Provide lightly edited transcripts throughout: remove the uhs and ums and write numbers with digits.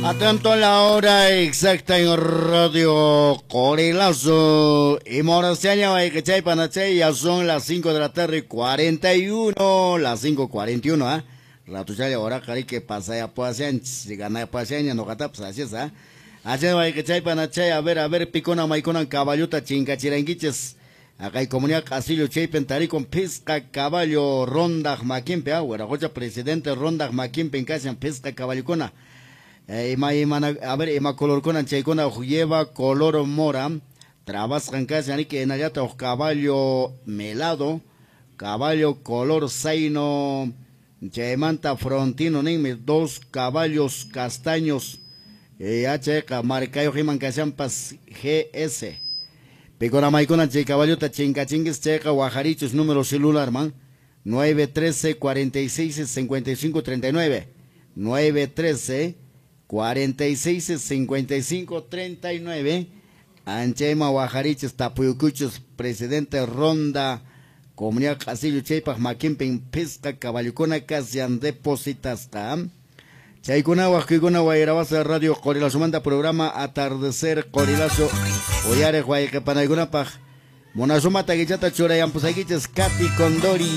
Atento a la hora exacta en Radio Qorilazo. Y Moraciaña, ya son las 5 de la tarde, 41, las 5:41, ¿ah? Ratuchaya, hora que pasa ya puasian, si gana puasian, no gata, pues así es, ¿ah? Así es, a ver, picona, maicona, caballota, chingachiranguiches. Acá hay comunidad Casillo, Chaypen, Taricon, Pisca, Caballo, Ronda, Maquimpe, ah, Huerajocha, presidente Ronda, Maquimpe, en casa, Pisca, Caballocona. A ver, ima color con chaykuna lleva color mora, trabasqan kashan que hinallataq caballo melado, caballo color zaino, chaymanta frontino ninmi, dos caballos castaños, chayqa markayuq iman kashanpas GS. Pikuna maykuna chay caballota chinkachinquis chayqa wajarichus número celular man, 913 46 55 39, 913 46 55 39, anchayma wajarichis tapuyukuchus presidente Ronda Comunidad Casillo chaypaq makinpin pisqa caballukuna kasyan depositasqa. Chaykuna wajkuykuna wayrawasa Radio Qorilazomanta programa Atardecer Qorilazo uyariq wayqipanaykunapaq munasumata kichata churayampusaykichis Katy Condori.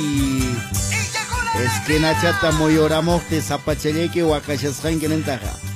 Esquinachata muyuramuqti sapachallayki waqashasqanki nintaqa.